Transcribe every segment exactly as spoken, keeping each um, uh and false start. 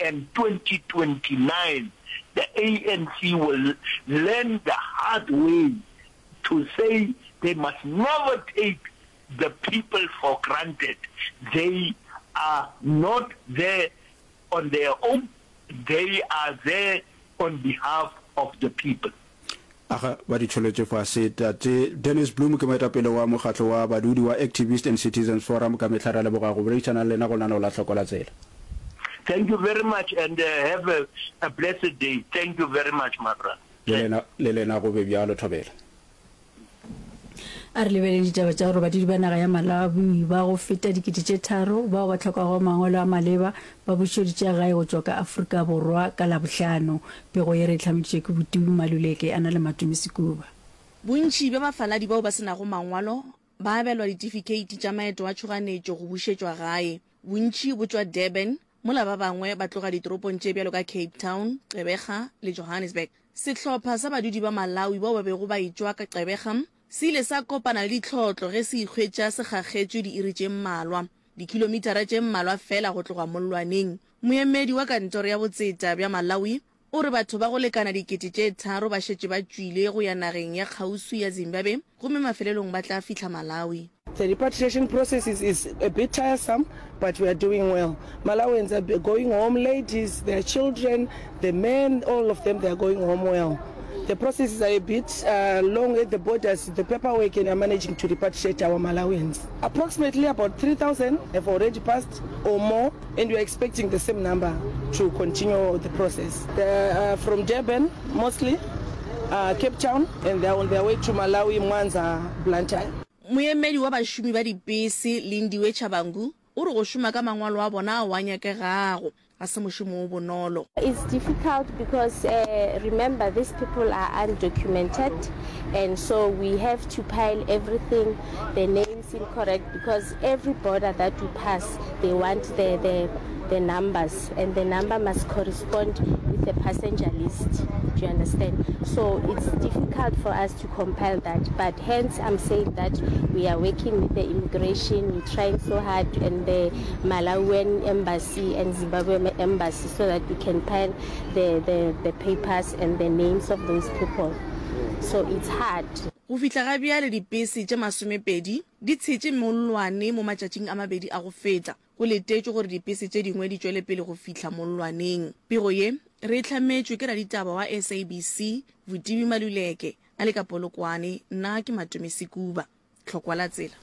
and twenty twenty nine the A N C will learn the hard way to say they must never take the people for granted, they are not there on their own, they are there on behalf of the people. Aga, ba di tšholotše fase. Tate Dennis Bloem ke moetapele wa mokgatlo wa badudi wa Activist and Citizens Forum. Ka mehla re a leboga go boledišana le lena go lenaneo la Hloko la Tsela. Thank you very much and have a, a blessed day. Thank you very much my brother. Le lena, le lena go be bjalo, Thobela. A re lebeleng ditaba tša gore badudi ba naga ya Malawi ba go feta dikete tše tharo bao ba hlokago mangwalo a maleba ba bušeditše gae go tšwa ka Afrika Borwa ka Labohlano. Pego ye re e hlameditšwe ke Botiwi Maluleke a na le Matome Sekuba. Bontši bja bafaladi bao ba se nago mangwalo ba abelwa ditifikeiti tša maeto a tšhoganetšo go bušetšwa gae. Bontši bo tšwa Durban, mola ba bangwe ba tloga ditoropong tše bjalo ka Cape Town, Gqeberha le Johannesburg. Sehlopha sa badudi ba Malawi bao ba bego ba etšwa ka Gqeberha se ile sa kopana le ditlhotlo ge se ikhwetša se kgakgetšwe diiri tše mmalwa, dikilomitara tše mmalwa feela go tloga mollwaneng. Moemedi wa kantoro ya botseta bja Malawi o re batho ba go lekana dikete tše tharo ba šetše ba tšwile go ya nageng ya kgauswi ya Zimbabwe gomme mafelelong ba tla fihla Malawi. The repatriation process is, is a bit tiresome, but we are doing well. Malawians are going home, ladies, their children, the men, all of them, they are going home well. The processes are a bit uh, long at the borders, the paperwork, and are managing to repatriate our Malawians. Approximately about three thousand have already passed or more, and we are expecting the same number to continue the process. They are from Durban mostly, uh, Cape Town, and they are on their way to Malawi, Mwanza, Blantyre. Moemedi wa bašomi ba dipese, Lindiwe Tshabangu, o re go šoma ka mangwalo a bona ao a nyakegago ga se mošomo o bonolo. It's difficult because remember these people are undocumented and so we have to pile everything, the names incorrect because every border that we pass they want the, the, the numbers and the number must correspond with the passenger list. Do you understand? So it's difficult for us to compile that, but hence I'm saying that we are working with the immigration, we're trying so hard and the Malawian embassy and Zimbabwe embassy so that we can pile the, the, the papers and the names of those people. So it's hard. Go fihla ga bjale dipese tše masomepedi di tshetše mollwane mo matšatšing a mabedi a go feta. Go letetšwe gore dipese tše dingwe di tšwele pele go fihla mollwaneng. Pego ye re e hlametšwe ke raditaba wa S A B C Vutivi Maluleke a le ka Polokwane. Nna ke Matome Sekuba. Tlhokwa la tsela.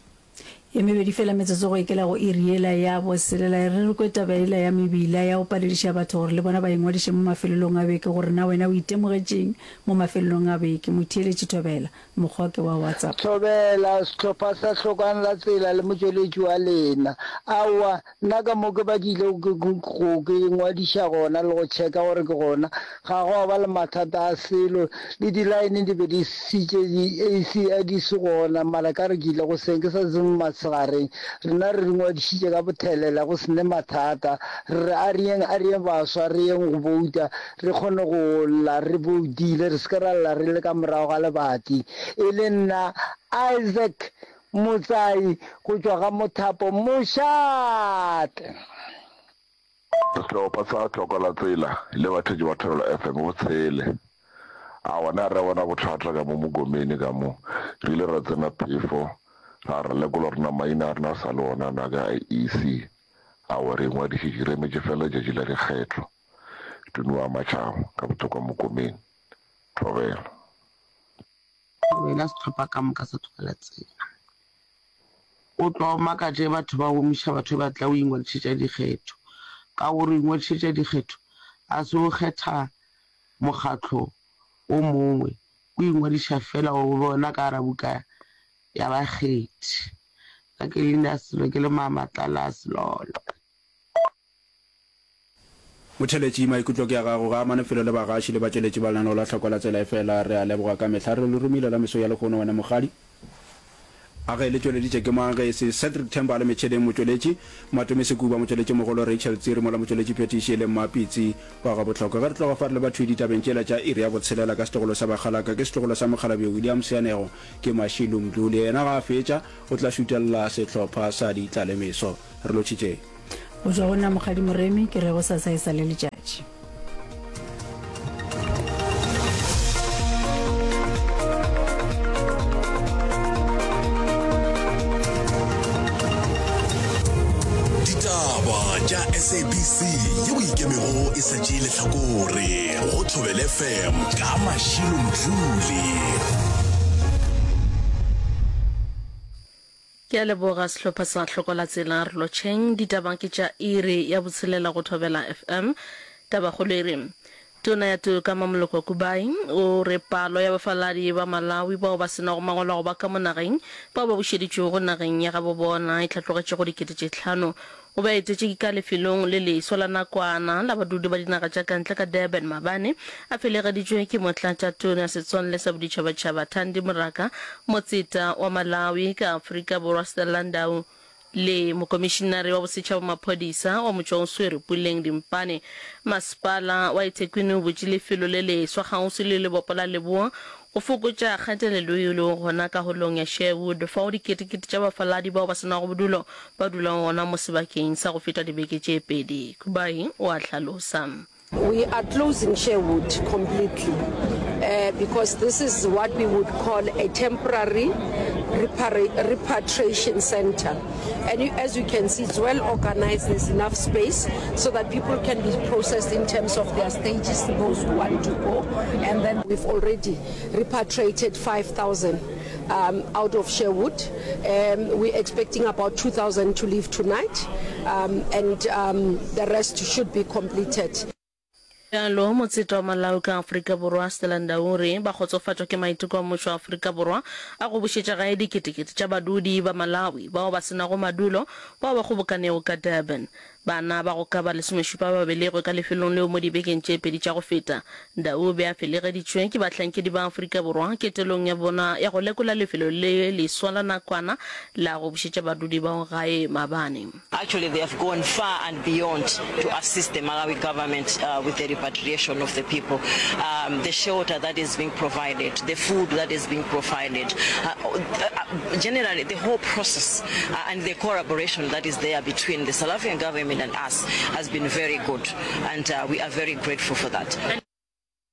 Ye mebedi fela metsotso go ekela go iri yela ya boselela. E re re kwe taba yela ya mebila ya go palediša batho gore le bona ba ingwadiše mo mafelelong a beke gore na wena o itemogetšeng mo mafelelong a beke. Motheeletši Thobela, mokgwa ke wa WhatsApp. Thobela, sehlopha sa Hlokang la Tsela le motšweletši wa lena. Aowa, nna ka mo ke ba ke ile go ke ingwadiša gona le go checka gore ke gona, ga gwa ba le mathata a selo, le di-line di be di sitše di A C di se gona, mara ka re ke ile goseng ke sa tsebe matshegareng, rena re ingwadišitše ka bothelela go se ne mathata, re re a re yeng a re yeng baswa re yeng go bouta re kgone go lla re boutile re se ke ra lla re le ka morago ga lebati. E le nna Isaac Motsai go tšwa ga Mothapo Mošate. Sehlopha sa Tlhoko la Tsela le batheetši ba Thobela F M bo tshele. Aowa, na re bona bothata ka mo Mogomeni ka mo. Re ile ra tsena phefo, ra re lekola gore na maina a rena a sa le ona na ka I E C. Aowa, re ingwadišitše, re emetše feela letšatši la dikgetho. Tumi wa Matšhabo, ka Bothokwa Mogomeni. Thobela. Thobela sehlopha ka moka sa Tlhoko la Tsela. O tlo makatša ge batho ba gomiša batho ba tla o ingwadišetša dikgetho. Ka gore o ingwadišetša dikgetho ga se o kgetha mokgatlo o mongwe, o ingwadiša feela gore o be gona ka gara buka ya bakgethi. Nna ke leina selo ke le Mamatlala Selolo. Motheeletši, maikutlo ke a gago, ga amane felo le bagaši le batšweletši ba lenaneo la Hloko la Tsela efela re a leboga ka mehla re le romile la meso ya lehono wena mokgadi. A ge le tšweleditše ke mang ge e se Cedric Themba le metšheneng motšweletši, Matome Sekuba motšweletši mogolo Rachel Tsiri mola motšweletši phethiši e le Mmapitsi wa Gabohlokwa. Ge re tloga fa re leba thwi ditabeng tšela tša iri ya botshelela ka setlogolo sa Bakgalaka ke setlogolo sa mokgalabje William Seanego ke Mashilu Mdluli yena ga a fetša o tla šutelela sehlopha sa Ditlalemeso. Re lotšhitšeng. Go tšwa go nna Mokgadi Moremi, ke re gosasa e sa le letšatši. Modjadji. Ditaba tša S A B C yeo ikemego e sa tšee lehlakore go Thobela F M ka Mashilo Mdluli. Ke a leboga sehlopha sa Hlokola Tsela re lotšheng. Ditaba ke tša iri ya botshelela go Thobela F M. Tabakgolo e re, Tona ya Toka Mamoloko Kubayi o re palo ya bafaladi ba Malawi bao ba se nago mangwalo a go ba ka mo nageng bao ba bušeditšwego nageng ya gabo bona e hlatlogetše go dikete tše hlano. O be a etetše ka lefelong le leswa la nakwana la badudi ba dinaga tša ka ntle ka Durban maabane, a felegeditšwe ke Motlatšatona Setswalle sa Boditšhabatšhaba Thandi Moraka, Motseta wa Malawi ka Afrika Borwa Stella Ndau le Mokomišinare wa Bosetšhaba wa Maphodisa wa Motšwaoswere Puleng Dimpane. Masepala wa eThekwini o butše lefelo le leswa kgauswi le lebopo la leboa go fokotša kgatelelo yeo e lego gona ka holong ya Sherwood fao diketekete tša bafaladi bao ba se nago bodulo ba dulago gona mo sebakeng sa go feta dibeke tše pedi. Kubayi o a hlalosa. We are closing Sherwood completely because this is what we would call a temporary repatriation centre and as you can see it's well organised, there's enough space so that people can be processed in terms of their stages, those who want to go, and then we've already repatriated five thousand um, out of Sherwood. Um, we're expecting about two thousand to leave tonight um, and um, the rest should be completed. Bjalo, motseta wa Malawi ka Afrika Borwa, Stella Ndau o re ba kgotsofatšwa ke maiteko a mmušo wa Afrika Borwa a go bušetša gae diketekete tša badudi ba Malawi bao ba se nago madulo bao ba kgobokanego ka Durban. Bana ba go ka ba lesomešupa ba belegwe ka lefelong leo mo dibekeng tše pedi tša go feta. Ndau o be a felegeditšwe ke bahlankedi ba Afrika Borwa ketelong ya bona ya go lekola lefelo le leswa la nakwana la go bušetša badudi bao gae maabane. Actually they have gone far and beyond to assist the Malawi government with the repatriation of the people, the shelter that is being provided, the food that is being provided, generally the whole process and the collaboration that is there between the South African government and us has been very good and we are very grateful for that.